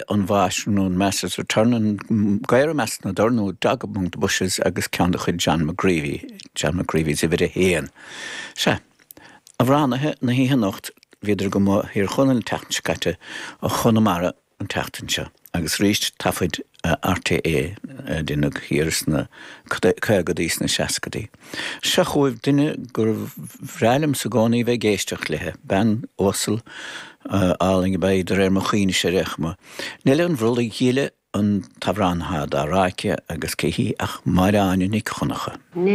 An Mhaistir nó an Master's Return, An Gadhar i Measc na dTor nó Dog Among the Bushes agus ceann de chuid John McGreevy, John McGreevy's Uimhir a hAon. Sea, amhránaithe na hoíche anocht, bhíodar go maith Thír Chonaill an tseachtain seo caite, ó Chonamara an tseachtain seo agus arís taifid RTÉ a deineadh thiar sna caogadaí sna seascadaí. Seo chugaibh duine gur bhreá liomsa i gcónaí bheith ag éisteacht léithe, bean uasal álainn ab ea í de réir mo chuimhnese ar aon chuma. Neile an Bhrollaigh Ghile an t-amhrán atá dá rá aici agus cé hí ach Máire Áine Nic Dhonncha.